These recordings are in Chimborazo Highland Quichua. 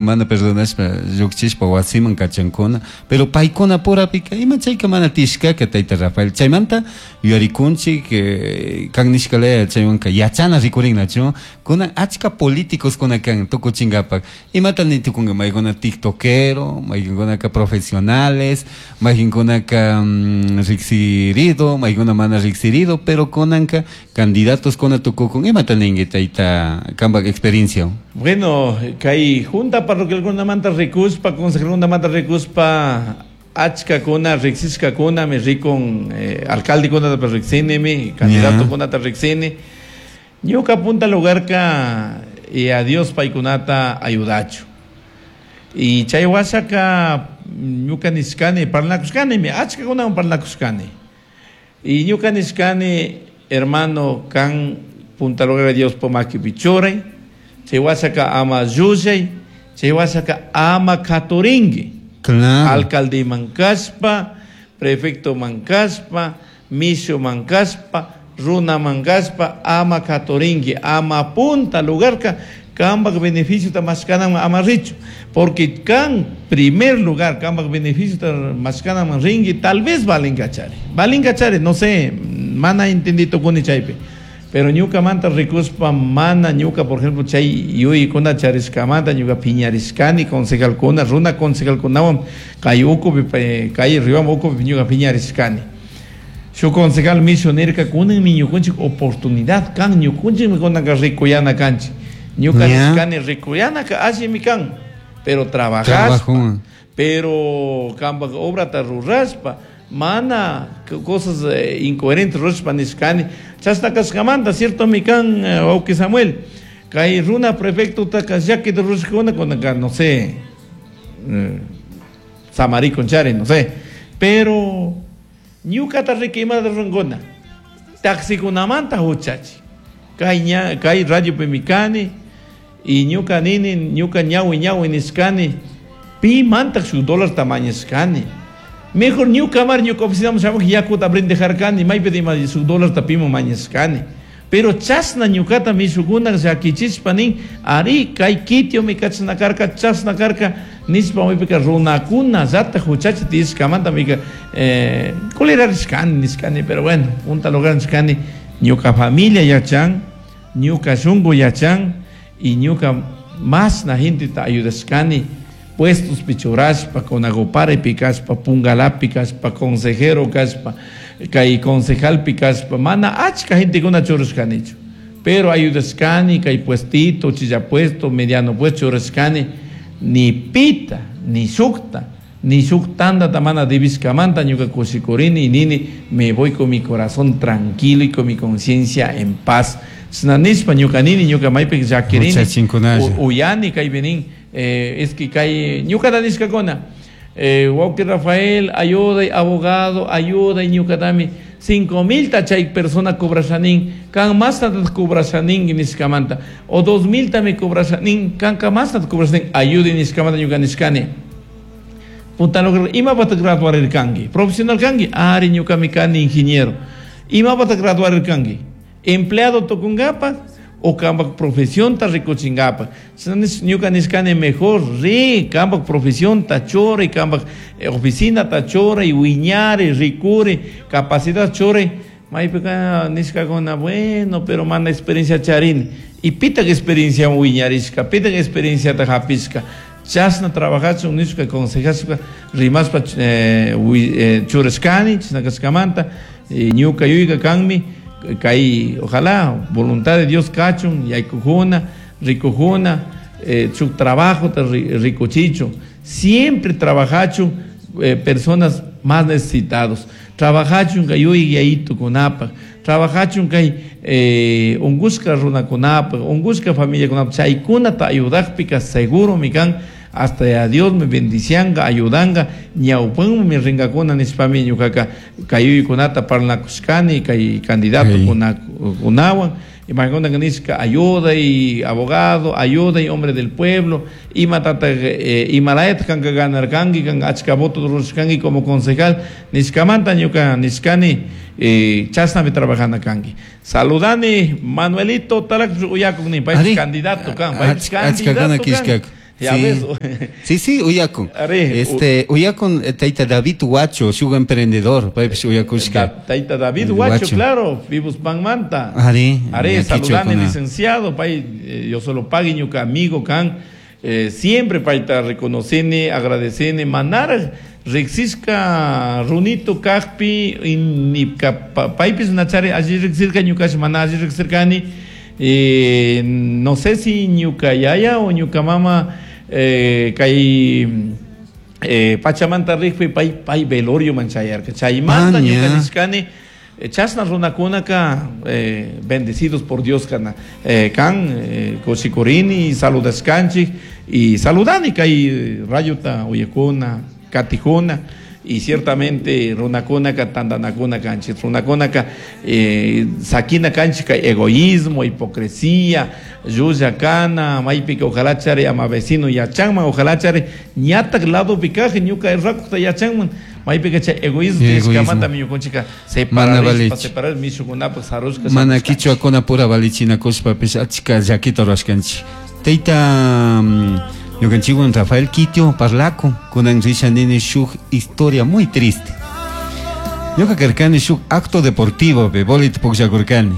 Mana perdonashpa llujchishpa huasiman cachancuna. Pero paicunapurapica ima chaica mana tiyashcaca taita Rafael. Chaimanta yuyaricunchij, can nishca laya chaihuanca yachana ricurinnachu. Cunan achca politicoscuna can tucuchingapaj. Imata ni tucunga? Maijuna tiktokero, maijancunaca profesionales, maijancunaca rijsirido, maijuna mana rijsirido, pero cunanca Candidatoscuna tucucun, imata ningui taita cambaj experienciahuan? Bueno, cai junta parroquialcunamanta ricushpa, concejalcunamanta ricushpa, achcacuna rijsishcacunami ricun, alcaldecunatapish rijsinimi, candidatocunata rijsini. Ñuca punta lugarca y a Dios paicunata ayudachu. Y chai huashaca ñuca nishcani, parlacushcanimi, achcacunahuan parlacushcani. Y ñuca nishcani, Hermano, can punta lugarca Diospa maquipi churai, chai huashaca ama llullai, chai huashaca ama caturingui. Claro. Alcaldeman cashpa, prefectoman cashpa, mishuman cashpa, runaman cashpa, ama caturingui, ama punta lugarca cambaj beneficiota mashcanaman ama richu. Porque can primer lugar cambaj beneficiota mashcanaman ringui, tal vez valincachari. Valincachari, no sé, mana entendí tucuni chaipi. Pero ñucamanta ricushpa mana ñuca, por ejemplo, chay yuyicuna charishcamanta ñuca piñarishcani concejalcuna, runa concejalcunahuan cay ucupi, cay Riobamba ucupi ñuca piñarishcani. Shuj concejal mishu nirca, cunanmi ñucunchij oportunidad can, ñucunchijmi cunanca ricuyana canchij. Ñuca nishcani ricuyanaca allimi can, pero trabajashpa, pero cambaj obrata rurashpa, mana cosas incoherentes rurashpa nishcani. Chashna cashcamanta ciertomi can, huauqui Samuel, cay runa prefectotaca llaquita rurashcacuna cunanca, no sé, samaricun chari, no sé, pero Ñucata riqui imata rurancuna? Taxicunamanta juchachi. Cai ña, cai radiopimi cani y ñuca nini, ñuca ñahui ñahui nishcani, pi mantaj shuj dólarta mañashcani. Mejor ñuca mar ñuca oficinaman shamuj yacuta brindejarcani, maipi ima shuj dólarta piman mañashcani. Pero chashna ñucata mishucuna llaquichishpa nin, Ari, cai quitiomi cachna carca, chashna carca nishpa maipica runacunallata juchachi tiyashcamanta mica culirarishcani nishcani. Pero bueno, punta lugar nishcani, ñuca familia yachan, ñuca shungu yachan y ñuca mashna genteta ayudashcani puestospi churashpa, Conagoparipi cashpa, Pungalapi cashpa, consejero cashpa, cai concejalpi cashpa, mana achca gentecuna churashcanichu. Pero ayudashcani cai puestito, uchilla puesto, mediano puesto churashcani, ni pita, ni shujta, ni shuj tandata mana debishcamanta ñuca cushicurini y nini, me voy con mi corazón tranquilo y con mi conciencia en paz. Chashna nishpa ñuca nini, ñuca maipi llaquirini, uyani caipi nin, Es que cai ñucata nishcacuna, huauqui Rafael, ayudai, abogado, ayudai ñucatami cinco milta chai persona cobrasha nin, can mashtataj cobrasha ningui nishcamanta, o dos miltami cobrasha nin, canca mashtataj cobrasha nin, ayudai nishcamanta ñuca nishcani. Punta lugar, imapataj graduarircangui? Profesional cangui? Ari, ñucami cani ingeniero. Imapataj graduarircangui? Empleado tucungapaj o cambaj profesionta ricuchingapaj. Ñuca nishcani mejor ri, cambaj profesionta churai, cambaj oficinata churai, huiñari, ricuri, capacidad churai. Maipica nishcacuna, bueno, pero mana experiencia charini. Y pitaj experienciahuan huiñarishca, pitaj experienciata japishca. Chashna trabajachun nishpa consejashpa rimashpa churashcani, chashna cashcamanta ñuca yuyca canmi cai ojalá voluntad de Dios cachun yaicujuna, ricujuna, shuc trabajota ricuchichun, siempre trabajachun personas más necesitados, trabajachun cai yuyai yayitucunapaj, Trabajachun cai ungushca runacunapaj, ungushca familiacunapaj, chaicunata ayudajpica seguromi can, hasta Yaya Diosmi bendicianga, ayudanga, ñaupanmi ringacuna nishpami ñucaca cai yuyicunata parlanacushcani cai candidatocunahuan. Imacunaca nishca ayudai abogado, ayudai hombre del pueblo, imatataj imalayataj canca ganarcangui, canca achca voto rurashcangui como concejal nishcamanta ñuca nishcani chashnami trabajana cangui. Saludani Manuelito Talacpish uyacun nin, paypish candidato can, paypish candidato can. Ya ves. Sí, sí, uyakun. Uyakun Taita David Huacho, shuk emprendedor, paypish uyakushka. Taita David Huacho, claro, vivos panmanta. Ari, Ari, saludane licenciado, pay, yo solo pague ñuka amigo kan, siempre payta reconocene, agradecene, manar riksishka runito kajpi paypis nachari alli riksirka ñukash mana alli riksirkani, no sé si ñuka yaya o ñuka mama kay pachamanta rikpi pay velorio man chayarka chaymanta ñuka nishkani chashna runakunaka bendecidos por Dios kana kan kushikurini saludashkanchik y saludani kay rayuta uyakuna katijuna y ciertamente runakunaka tandanakuna kanchik runakunaka sakina kanchik egoísmo, hipocresía, llulla kana, maypika ojalá chari ama vecino yachanman, ojalá chari ñatak lado pikaje ñuka rakuta yachanman, maypika chay egoísmo tishkamanta ñukunchika separarishpa separar mishukunapak sarushka mana kichwakuna pura valichinakushpapish achka llakita rurashkanchik. Tayta ñukanchikwan Rafael Kitio parlaku kunan risha nini shuk historia muy triste. Ñuka karkani shuk acto deportivo pe bolit pukllakurkani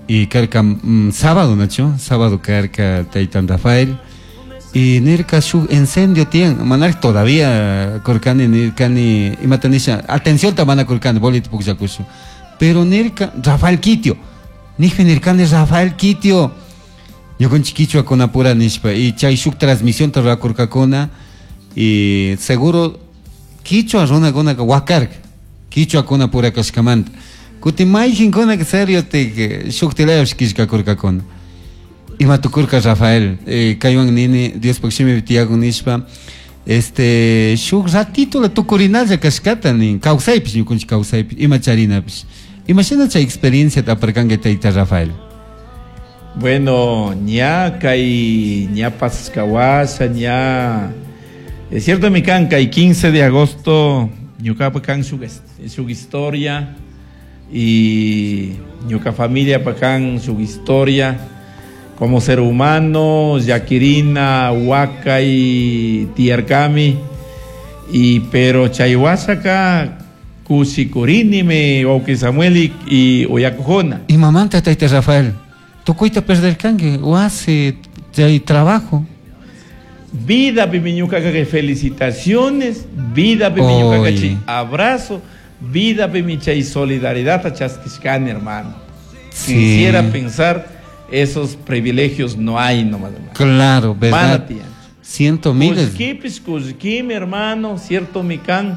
y karka sábado nacho, sábado karka taytan Rafael y nirka shuk incendio tiyan manar todavía kurkani nirkani imata nisha atención ta mana kurkani bolit pukllakushu pero nirka Rafael Kitio nijpi nirkani Rafael Kitio ñukanchik kichwakuna pura nishpa y chay shuk transmisión ta rurakurkakuna y seguro kichwa runakunaka wakarka kichwakuna pura kashkamanta kutin mayqinkunaka serio te shuktilayapish killkakurkakuna ima tukurka Rafael kaywan nini Diospaq shimipi tiyakun nishpa shuk ratito la tukurinalla kashkata nin kawsaypish ñukanchik kawsaypish ima charinapish imashina chay experiencia aparkanki tayta Rafael. Bueno, ña kay ña pasashkawasha ña es cierto mi kan kay 15 de agosto ñuka kan shuk historia y ñuka familia pa kan shuk historia como ser humano llakirina wakay tiyarkami y pero chaywashaka kushikurini me wawqi Samuel y uyakujuna. Y mamanta tayta Rafael tukuyta perderkanki wasi chay trabajo. Vida pimiñucaca que felicitaciones, vida pimiñucaca chi abrazo, vida pimichay solidaridad a chaskishkani hermano. Sí. Quisiera pensar esos privilegios no hay nomás, hermano. Claro, verdad. Ciento miles. Cusquipis, cusquim, hermano, cierto mi can.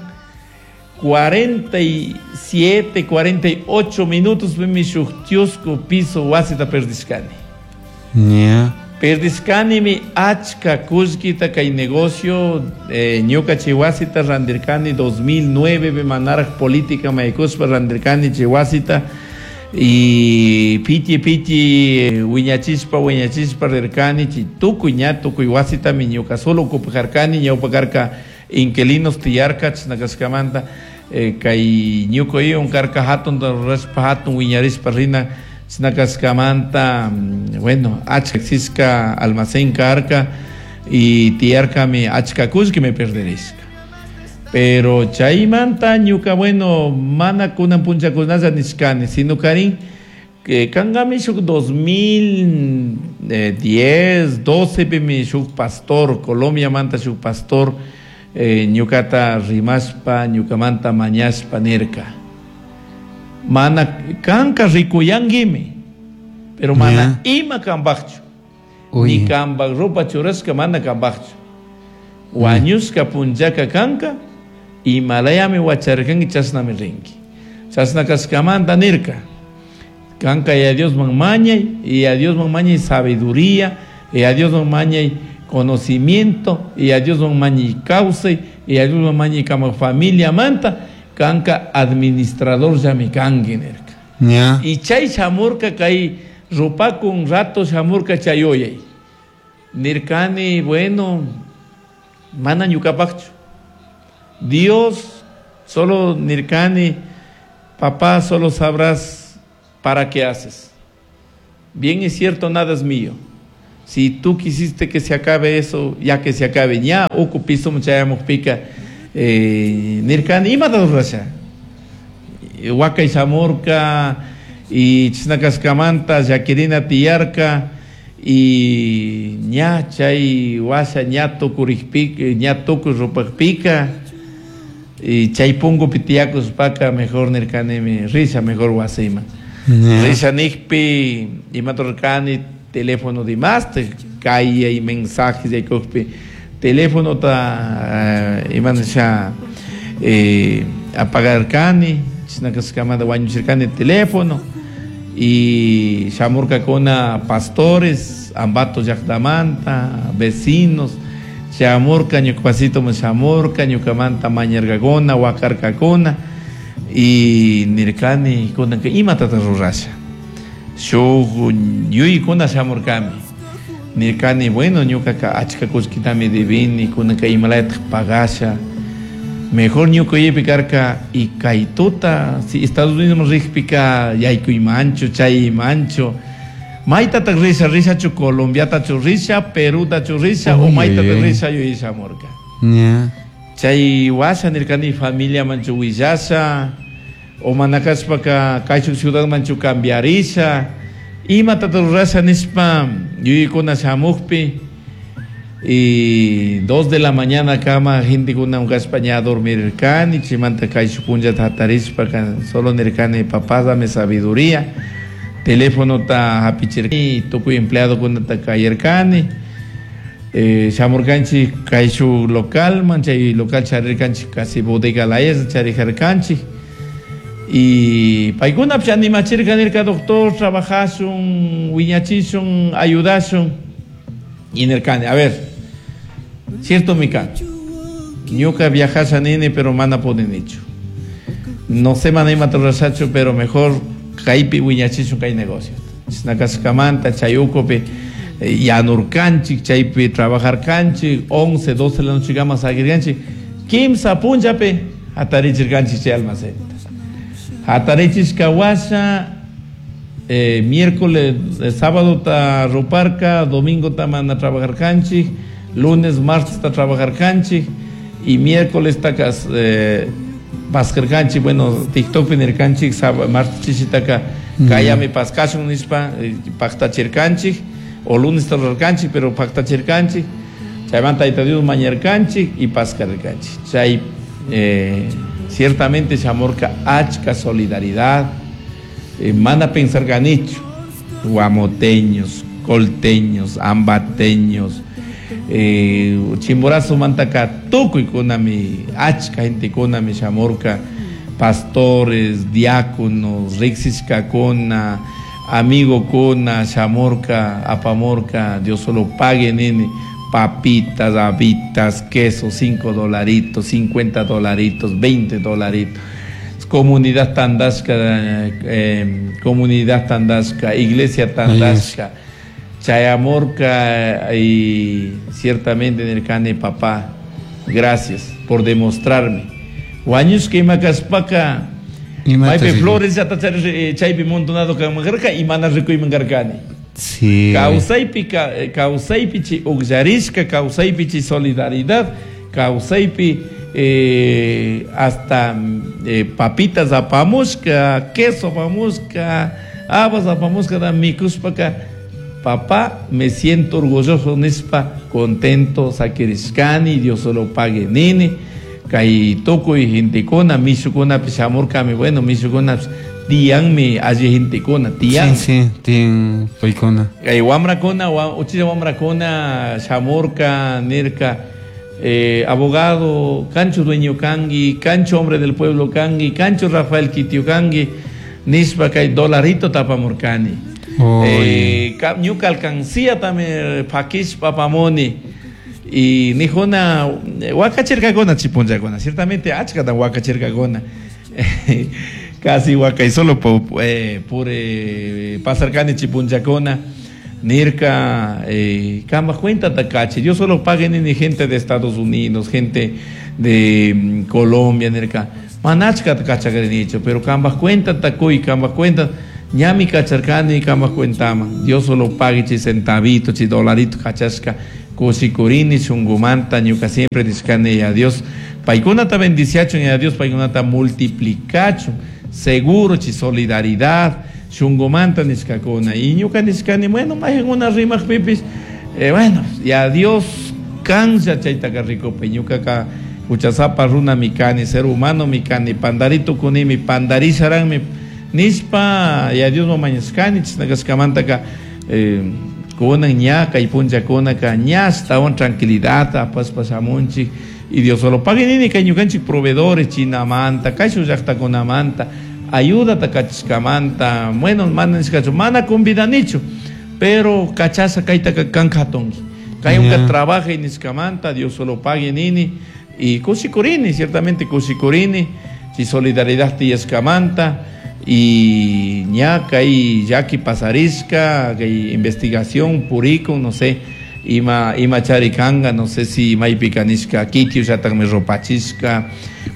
47, 48 minutos mi shuktiusku piso wasita perdishkani. Yeah. Perdishkani mi achka kullkita kay negocio ñuka chay wasita randirkani 2009 mi manaraj política maykuspa randirkani chay wasita y piti piti wiñachispa wiñachispa rirkani chay tukuy ña tukuy wasita mi ñuka solo okupajarkani ñawpakarka inquilinos tiyarka chisnakashkamanta kay ñuka iwan karka hatun rurashpa hatun wiñarishpa rina chisnakashkamanta bueno achka sisca almacén karka y tiyarka mi achka kullki me perderishka pero chaymanta ñuka bueno mana kunan punchakunalla nishkani sino karin kangami shuk 2010 12 pimi shuk pastor Colombia manta shuk pastor ñukata rimashpa ñukamanta mañashpa nirka mana kanka rikuyanguimi pero mana ima kambaqchu ni kambaq ropa churashka mana kambaqchu wañushka punllaka kanka imalayami wacharkanki chashnami rinki chashna kashkamanta nirka kanka y a Diosman mañay y a Diosman mañay sabiduría y a Diosman mañay conocimiento y a Dios mañi causa y a Dios mañi kama familia manta kanka administrador ya mi kanki nirka. Yeah. Y chay shamurka kay rupakun rato shamurka chayoyay nirkani bueno mana ñukapaqchu Dios solo nirkani papá solo sabrás para qué haces bien es cierto nada es mío. Si tú quisiste que se acabe eso, ya que se acabe. Ña uku pisoman chayamukpika nirkani imata rurasha. Wakay shamurka y chashna kashkamanta llakirina tiyarka y ña chay washa ña tukurikpika, ña tukuy rupakpika y chay punkupi tiyakushpaka mejor nirkanimi risha mejor wasiman. Risha nikpi imata rurkani teléfono dimastik kayay mensajes yaykukpi telefonota ima nisha apagarkani chashna kashkamanta wañuchirkani teléfono y shamurkakuna pastores Ambato llaktamanta vecinos shamurka ñuka wasituman shamurka ñukamanta mañarkakuna wakarkakuna y nirkani kunanka imatata rurasha shuk yuyaykuna shamurkami nirkani bueno ñukaka achka kullkitami debini kunanka imalayatak pagasha mejor ñuka yuyaypi karka y kay tuta si Estados Unidos rikpika yaykuymanchu chaymanchu maytatak risha rishachu Colombiatachu risha Perutachu risha o maytatak risha yuyay shamurka. Chay washa nirkani familiamanchu willasha o mana kashpaka kayshuk ciudadmanchu cambiarisha imatata rurasha nishpa yuyaykuna shamukpi y 2 de la mañana kama gentekuna kashpa ña dormirkani chaymanta kayshuk punllata hatarishpaka solo nirkani papá dame sabiduría telefonota hapichirkani tukuy empleadokunata kayarkani shamurkanchik kayshuk localman chay local charirkanchik casi bodega laya charijarkanchik y paykunapish animachirka nirka doctor trabajashun wiñachishun ayudashun y nirkani a ver ciertomi kan ñuka viajasha nini pero mana pudinichu no sé mana imata rurashachu pero mejor kaypi wiñachishun kay negocio chashna kashkamanta chay ukupi yanurkanchik chaypi trabajarkanchik 11 12 de la noche kama saquirkanchik kimsa punllapi hatarichirkanchik chay almacenta hatarichishka washa miércoles sábado ta ruparka domingo ta mana trabajarkanchik lunes martes ta trabajarkanchik y miércoles ta paskarkanchik bueno TikTokpi nirkanchik martes chishitaka kayami paskashun nishpa paktachirkanchik o lunes ta rurarkanchik pero paktachirkanchik chaymanta Tayta Dios mañarkanchik y paskarkanchik chay ciertamente shamurka achka solidaridad mana pensarkanichu guamoteños colteños ambateños Chimborazo mantaka tukuykunami achka gentekunami shamurka pastores diáconos riksishkakuna amigokuna shamurka apamurka Dios solo pague nini papitas, habitas, queso, 5 dolaritos, 50 dolaritos, 20 dolaritos. Comunidad Tandashka, iglesia Tandashka, Chayamorca y ciertamente nirkani papá, gracias por demostrarme. Wañushka ima kashpaka, maypi flores llata chaypi montonado kanman y mana rikuyman karkani. Sí. Kawsaypi chay ukllarishka, kawsaypi chay solidaridad, kawsaypi hasta papitas apamushka, queso apamushka, habas apamushka da mikushpaka papá, me siento orgulloso nishpa, contento sakirishkani, Dios solo pague nini, kay tukuy gentekuna, mishukunapish shamurkami, bueno, mishukunapish tiyanmi alli gentekuna, tiyan. Sí, sí, tiyan paykuna. Kay wamrakuna, uchilla wamrakuna shamurka, nirka, abogado, cancho dueño kangi, cancho hombre del pueblo kangi, cancho Rafael Kitio kangi, nishpa kay dolarito tapamurkani. Ñuka alcancía también pakishpa pamoni y nijuna wakachirkakuna chipunllakuna, ciertamente achkatan wakachirkakuna casi wakay solo por pasarkani chipunllakuna nirka kama cuenta takachi, yo solo pague ni gente de Estados Unidos, gente de Colombia nirka manachka takachagrinicho, pero kamba cuenta takuy, kamba cuenta Ñami kacharkani kamak cuentaman. Dios solo pague chay centavito, chay dolarito kachashka. Kushikurini shungumanta ñuka siempre nishkani ya Dios. Paykunata bendiciachun ya Dios, paykunata multiplicachun. Seguro chay solidaridad shungumanta nishkakuna. Y ñuka nishkani, bueno, mayqankuna rimaqpipis, bueno, ya Dios kanlla chaytaqa rikupi. Ñukaka huchasapa runami kani, ser humano mi kani, pandarito kunimi, pandarisharanmi nishpa ya Dios mañashkani, chashna kashkamantaka kunan ña kay punllakunaka ña ashtawan tranquilidad apashpa shamunchik. Y Dios solo pague nini kay ñukanchik proveedores Chinamanta, kay shuk llaqtakunamanta, ayudata kachishkamanta, bueno, mana nishkachu, mana convidanichu, pero kachasha kaytaka kan katunki. Kay unka trabaja nishkamanta, Dios solo pague nini, y kushikurini, ciertamente kushikurini, si solidaridad tiyashkamanta, y ña kay llaki pasarishka, kay investigación purikun, no sé, ima chari kanga, no sé si maypika nishka kitio llatakmi rupachishka,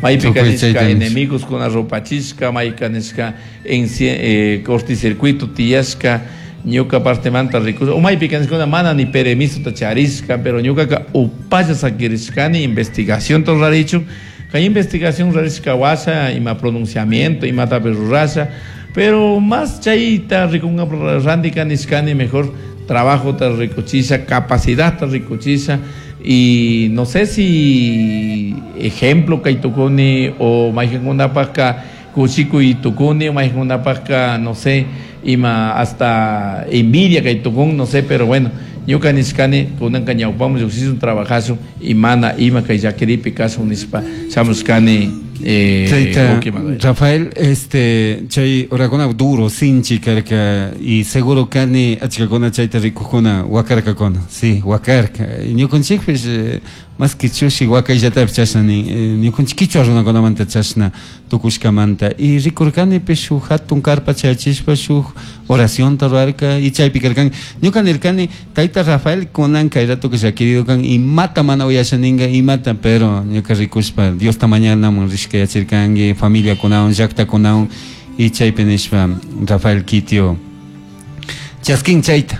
maypika Tukuy nishka chayta nish. enemigos kuna rupachishka, mayka nishka en corticircuito tiyashka, ñuka partemanta recurso, o maypika nishkuna mana ni permiso ta charishka, pero ñukaka upalla sakirishkani investigación rurarichu, kay investigación rurarishka washa, ima pronunciamiento, ima tape rurasha, pero más chayta rikunga randika nishkani mejor trabajo ta rikuchisha, capacidad ta rikuchisha, y no sé si ejemplo kay tukuni o mayqankunapaqka kushikuy tukuni o mayqankunapaqka, no sé, ima hasta envidia kay tukun, no sé, pero bueno, ñuka nishkani kunanka ñawpamun lluqshishun trabajashun y mana ima kay llakiripi kashun nishpa shamushkani. Chayta, Ok, Manuel. Rafael, chay horakuna duro, sinchi karka, y seguro kani achkakuna chayta rikukuna wakarkakuna, sí, wakarka. Ñukanchikpish, más que chushi wakayllatapish chashna nin, ñukanchik kichwa runakunamanta chashna tukushkamanta. Y rikurkanipish shuk hatun karpa chayachishpa shuk oracionta rurarka, y chaypi karkan. Ñuka nirkani, tayta Rafael kunan kay rato que llakirido kan, imata mana uyasha ninga, imata, pero ñuka rikushpa Diosta mañanaman rishka yachirkanki, familia kunawan, llakta kunawan, y chaypi nishpa Rafael Kitio chaskin chayta,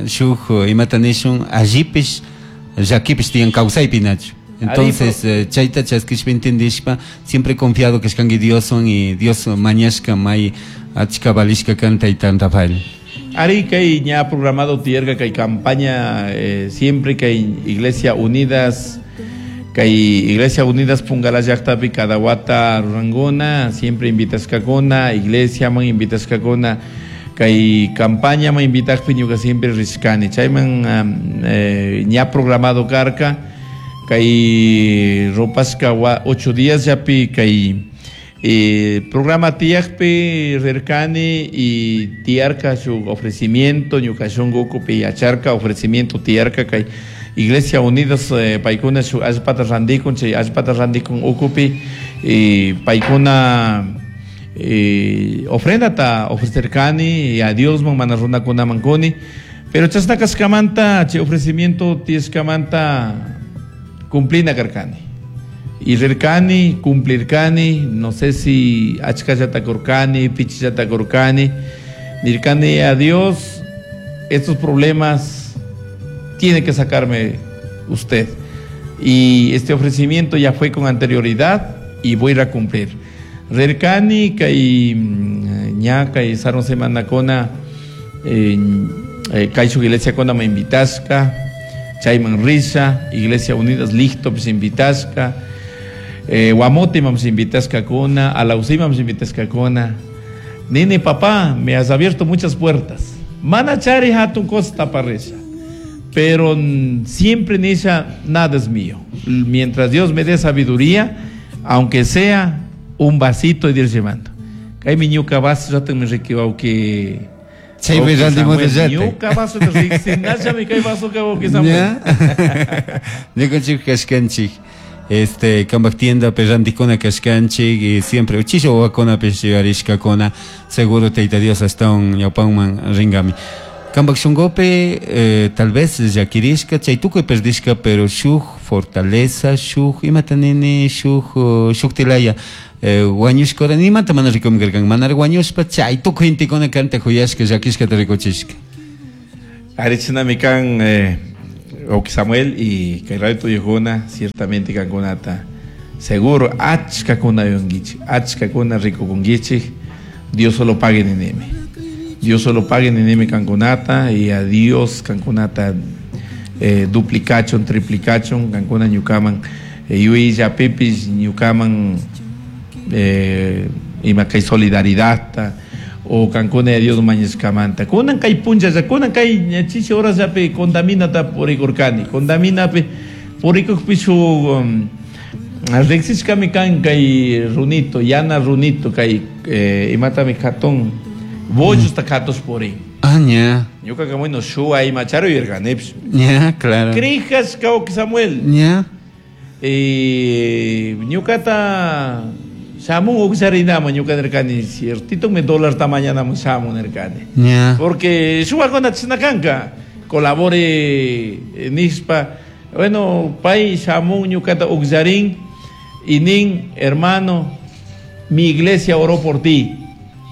shuk imata nishun, allipish llakipish tiyan kawsaypi nachu. Entonces, chayta chaskishpa entendishpa, siempre confiado que kashkanki Dioswan y Dios mañashka may achka valishka kan tayta Rafael. Ari kay ña programado tierra kay campaña, siempre kay Iglesia Unidas, kay Iglesia Unidas Pungala llaqtapi cada wata ruranguna, siempre invitashkakuna, iglesia man invitashkakuna, kay campaña man invitakpi ñuka siempre rishkani. Chayman, ña programado karka, kay ropashka wa 8 días yapi kay, programa tiyakpi rirkani y tiyarka su ofrecimiento, ñuka shunku ukupi yacharka ofrecimiento tiyarka kay Iglesia Unidas, paykuna su allpata randikun, chay allpata randikun ukupi, y paykuna, ofrenda ta ofrecerkani y a Dios man mana runakunaman kuni, pero chasna kashkamanta chay ofrecimiento tiyashkamanta cumplina karkani. Y rirkani, cumplirkani, no sé si achkallata kurkani, pichillata kurkani, nirkani a Dios, estos problemas tiene que sacarme usted. Y este ofrecimiento ya fue con anterioridad y voy a ir a cumplir. Rirkani, kay, ña, kay sarun semana kona, kay su iglesia kona me invitashka, chayman risha, Iglesia Unidas listo pues invitashka, Guamote mams invitashka kona, Alausí mams invitashka kona. Nene, papá, me has abierto muchas puertas. Mana chari hatun costa parresha. Pero siempre nisha, nada es mío. Mientras Dios me dé sabiduría, aunque sea un vasito de ir llevando. Kay mi ñuka vaso, ya te me requibau que Chay Ok, me rendimos Samuel, de yate. ñuka vaso te riqui, nasha mi kay vaso que vos que Samuel. Ya. Ñukanchik kashkanchik. Kambak tienda pe randikuna kashkanchik y siempre uchisha wawakuna pe yuyarishkakuna, seguro Tayta Dios hasta un ñawpanman ringami. Kanpak shunkupi tal vez llakirishka chay tukuy perdishka, pero shuk fortaleza, shuk imata nini, shuk shuktilaya wañushka hora nimata mana rikumi karkan, manara wañushpa chay tukuy gentekuna kanta juyashka llakishkata rikuchishka. Arichinami kan Oki Samuel y kay radio tuyukuna ciertamente kankunata seguro achkakuna yunkichik, achkakuna rikukunkichik, Dios solo pague ninimi. Dios solo pague ninimi kankunata y a Dios kankunata duplicachon, triplicachon, kankuna ñukaman yuyillapipis ñukaman ima kay solidaridadta o kankuna Dios mañashkamanta. Kunan kay punchalla, kunan kay chichi horasllapi contaminata purikurkani, contaminapi purikukpi shuk riksishkami kan kay runito, yana runito kay imatami katun bollosta katus purin. Ah, ña. Ñuka bueno shuwa ima charu yirkanipis. Ña, claro. Krijas ka Samuel. Ña. Ñukata shamun uksarinama ñuka nirkani ciertito me dólar tamañana shamun nirkani. Ña. Porque shuwakuna chishnakanka colabore nispa. Bueno, pay shamun ñukata uksarin y nin hermano, mi iglesia oró por ti.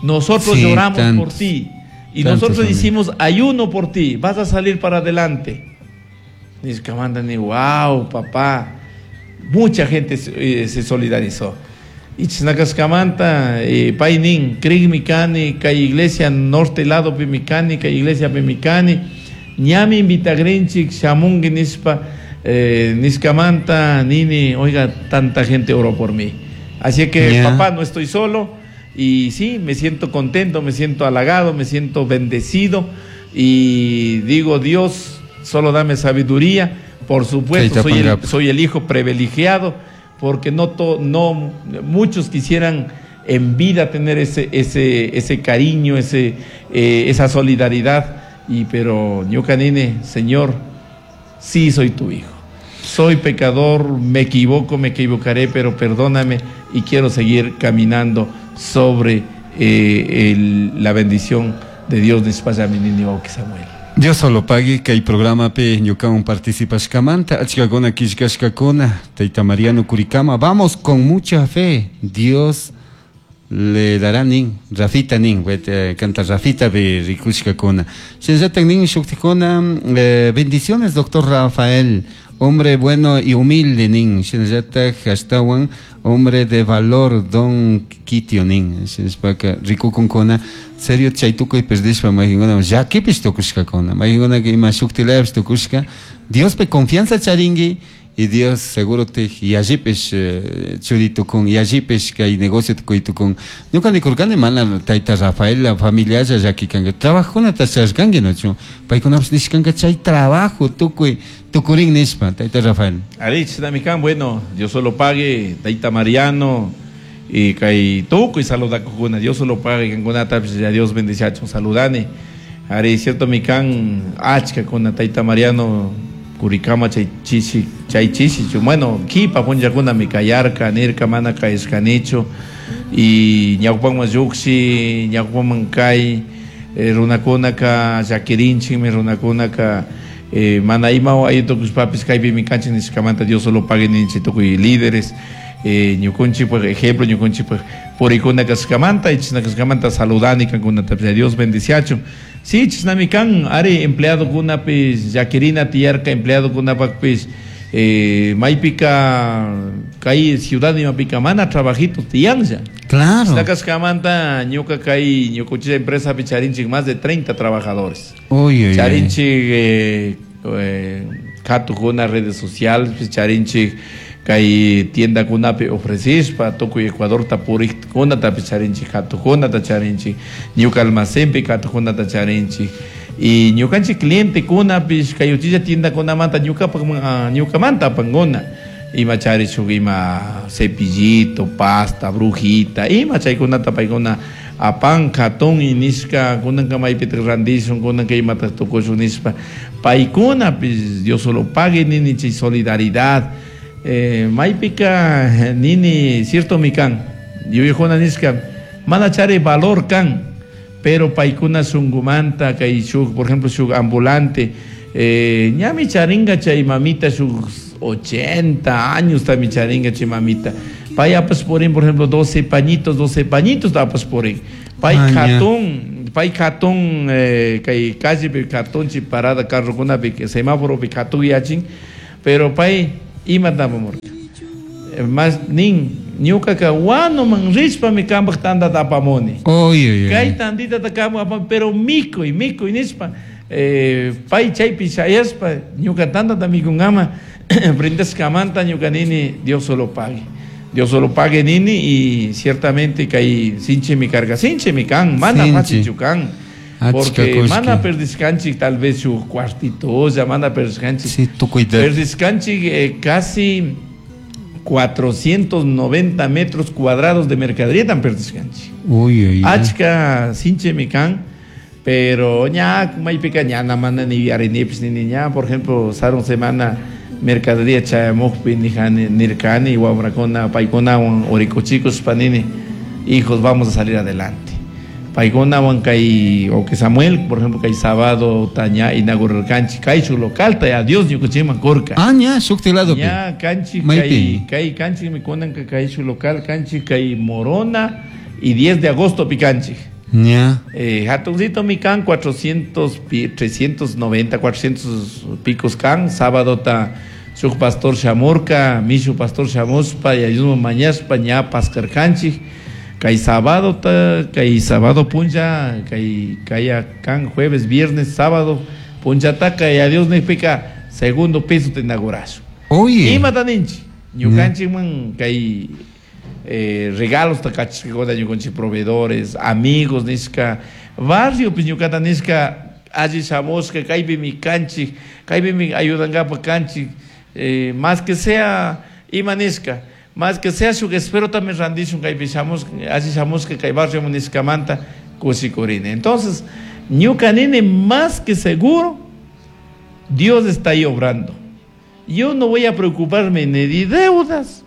Nosotros sí, lloramos tantos, por ti. Y nosotros hicimos ayuno por ti. Vas a salir para adelante. Ni wow, papá. Mucha gente se solidarizó. Y chinakaskamanta, pay nin, krig mikani, kay iglesia norte lado pimikani, kay iglesia pimikani, ñami invitagrinchik, shamungi nispa, niskamanta, nini, oiga, tanta gente oró por mí. Así que, yeah. Papá, no estoy solo. Y sí, me siento contento, me siento halagado, me siento bendecido. Y digo, Dios, solo dame sabiduría. Por supuesto, soy el hijo privilegiado, porque no muchos quisieran en vida tener ese cariño, esa solidaridad. Y pero ñuka nini, Señor, sí soy tu hijo. Soy pecador, me equivoco, me equivocaré, pero perdóname y quiero seguir caminando sobre la bendición de Dios de Samuel. Dios solo pague kay programa pe ñukawan participashkamanta achkakuna killkashkakuna Tayta Mariano Curicama, vamos con mucha fe, Dios le dará nin, Rafita nin, canta Rafita pe rikushkakuna. Shinallatan nin shuktikuna, bendiciones doctor Rafael, hombre bueno y humilde nin, shinallatak ashtawan hombre de valor don Kitio nin, shinashpaka rikukunkuna, serio chaytukuy perdishpa mayqinkuna llakipish tukushkakuna, mayqinkuna ima shuktilapish tukushka, Diospi confianza charinki y Dios seguro te yallipish churitukun, yallipish kay negocio tukuytukun. Ñuka nikurkani mana tayta Rafael la familialla llakikanka, trabajunata charkanki nochu, paykunapish nishkanka chay trabajo tukuy tukurin nishpa, tayta Rafael. Arich namikan, bueno, Dios solo pague, tayta Mariano y kay tukuy saludakukuna, Dios solo pague, kankunatapish ya Dios bendiciachun saludani. Ari cierto mikan achka kuna tayta Mariano Curicama chay chishi, bueno, kipa punllakuna mikayarka, nirka mana kayashkanichu y ñawpaman lluqshi, ñawpaman kay runakunaka llakirinchikmi, runakunaka mana ima ayutukushpapis kaypi mikanchik nishkamanta Dios solo pague ninchik tukuy líderes, ñukunchik por ejemplo, ñukunchik purikuna kashkamanta y chisna saludani kankunatapish Dios bendiciachun. Sí, chisnami kan ari empleado kunapis llakirina tiyarka empleado kunapakpis maypika kay ciudad imapika mana trabajito tiyanlla. Claro. Chisnakashkamanta ñuka kay ñukuchilla empresapi charinchik más de 30 trabajadores. Uy, uy, charinchik katukuna redes sociales charinchik kay tienda kunapi ofrecishpa tukuy Ecuadorta purikkunatapi charinchik katukunata charinchik ñuka almacenpi katukunata charinchik y ñukanchik cliente kunapish kay uchilla tienda kunamanta ñukapak ñukamanta apankuna ima charishuk ima cepillito, pasta, brujita, ima chaykunata paykuna apan katun y nishka kunanka maypitak randishun kunanka imatak tukushun nishpa paykunapish Dios solo pague nini chay solidaridad. Maypika nini cierto mikan yuyajuna nishka mana chari valor kan Pero paykuna shunkumanta kay shuk, por ejemplo, shuk ambulante, ñami charinga chay mamita shuk 80 años tami charinga chay mamita. Pay apas purin, por ejemplo, 12 pañitos, 12 pañitos apas purin. Pay katun, pay katun, kay calle pi katun chi parada carrokunapi semáforo pi katun yachin, pero pay imata apamurka. Mas nin ñukaka wanuman rishpami kanpak tantata apamuni. Kay tantitata kanpak apamuni, pero mikuy, mikuy nishpa, pay chaypi shayashpa ñuka tantata mikunkama brindashkamanta ñuka nini Dios solo pague. Dios solo pague nini y ciertamente kay sinchimi karka, sinchimi kan, mana fácilchu kan. Porque mana perdishkanchik tal vez shuk cuartitolla, mana perdishkanchik. Sí, tukuyta. Perdishkanchik casi 490 metros cuadrados de mercadería tan perdishkanchik. Uy, uy, uy. Achka sinchimi kan, pero ña maypika ñana mana ni yarinipis ni ña, por ejemplo, sarun semana mercadería chayamukpi nijani nirkani wamrakuna paykunawan orikuchikus panini, hijos, vamos a salir adelante. Paykunawan kay o que Samuel, por ejemplo, kay sábado taña inaugurarkanchik kay shuk local ta Dios ñukanchikman kurka. Ah, ña shukti lado pi. Ña kanchik kay kay kanchik mi kunanka kay shuk local kanchik kay Morona y 10 de agosto pi kanchik. Ña. Hatuncito mi kan 400 pi, 390, 400 picos kan, sábado ta shuk pastor shamurka, mishu pastor shamuspa y ayudmo mañaspa ña paskarkanchik. Kay sábado ta, kay sábado puncha, kay kaya kan jueves, viernes, sábado puncha ta kay adiós nipika segundo piso te inaugurazo. Oye. Ima ta ninchi? Ñukanchik man kay regalos ta kachikuna ñukanchik proveedores, amigos nishka, barrio pues ñukata nishka alli shamushka, kaypi mi kanchik, kaypi mi ayudankapa kanchik, más que sea ima nishka, más que sea shuk espero también randishun kaypi shamushka, alli shamushka kay barrio nishkamanta kushikurini. Entonces, ñuka nini más que seguro, Dios está ahí obrando. Yo no voy a preocuparme ni de deudas,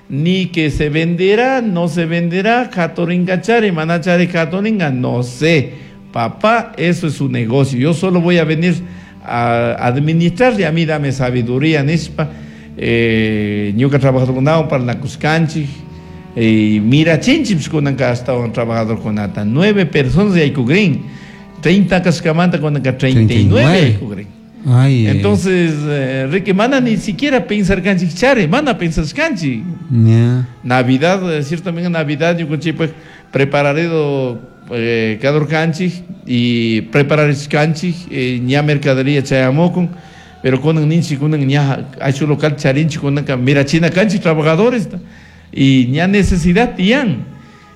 ni que se venderá, no se venderá, katoringa chari, manachari katoringa, no sé. Papá, eso es su negocio. Yo solo voy a venir a administrar y a mí dame sabiduría, nishpa. Ñuka trabajador kunao para la Cuscanchi, mira chinchips kunanka hasta un trabajador kunata, 9 personas y hay cugrin, 30 cascamanta kunanka 39 hay cugrin. Ay, Entonces, Ricky, mana ni siquiera pensar canchi chare, mana pensar canchi. Yeah. Navidad, ciertamente Navidad, yo conchi, pues, prepararé do, cada canchi y preparar canchi, ña mercadería chayamocon, pero con un ninchi, con un ña, hay su local charinchi, con una mira china canchi, trabajadores, y ña necesidad tian.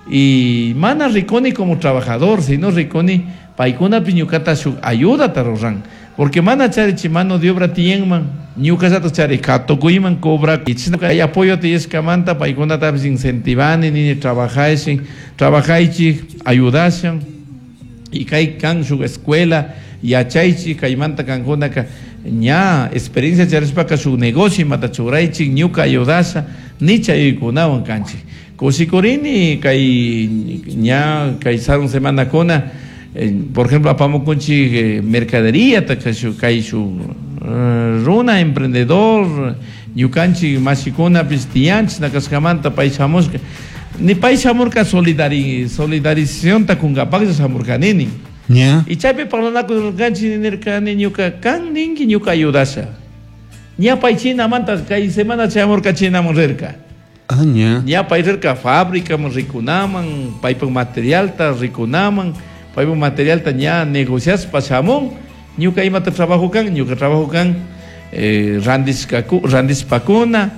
Y mana riconi como trabajador, sino riconi, paikuna piñucata su ayuda tarorran. Porque mana chari mano de obra tienman, ñuka sato chari katokuiman cobra, y chino hay apoyo te escamanta, paikuna tabis incentivani, ni trabajaichi, trabajaichi, ayudashan, y kai kan su escuela, yachaichi, kaimanta kankuna ka, ña experiencia charishpaka su negocio mata churaichi, ñuka ayudasha, ni chaykunawan kanchi. Kusikurini, kai ña, kai sarun semana kona, por ejemplo, apamukunchi mercadería, takashu, kaishu, runa, emprendedor, ñukanchi, mashikuna, pistianchi, nakaskamanta, paishamushka. Ni paishamurka solidarización takungapak shamurka nini. Yeah. Y chaypi parlanakurkanchi nirkani ñuka kan ninki ñuka ayudasha. Ña paychina manta kay semana chayamurka chinaman rirka. Ah, ña. Ña pay rirka fábrica man rikunaman, paypak materialta rikunaman, paypak materialta ña negociaspa shamun, ñuka imata trabajo kan, ñuka trabajo kan, randispakuna,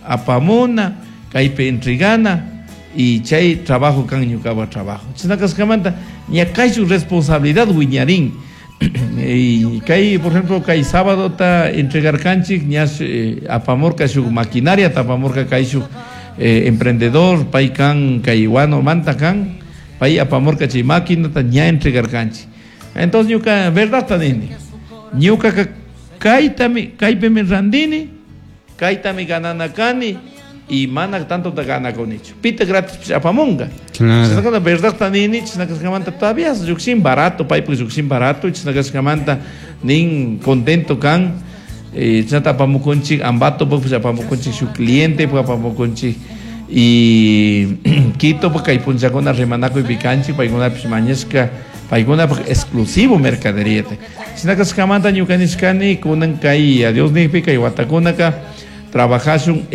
apamuna, kaypi entregana, y chay trabajo kan ñukapa trabajo. Chinakaskamanta ña kay su responsabilidad wiñarín. Y kay, por ejemplo, kay sábado ta entregar kanchik, ña, apamorka su maquinaria, ta apamorka kay su, emprendedor, pay kan, kay guano manta kan, pay apamorka chay máquina ta ña entregar kanchik. Entonces ñuka, verdad ta nini, ñuka ka, kaytami, kaypimi randini, kaytami ganana kani, Y mana tanto ganakunichu. Pita gratis apamunga. Claro. Chashnakuna verdadta nini, chashna kashkamanta todavía llukshin barato, paypuk llukshin barato, chashna kashkamanta nin contento kan. Chashnata apamukunchik, Ambatopukpish apamukunchik, shuk cliente apamukunchik. Y Quito kay punllakuna rimanakuypi kanchik, paykunapish mañashka, paykunapak exclusivo mercadería. Chashna kashkamanta ñuka nishkani, kunan kay a Dios nijpi kay watakunaka trabajashun.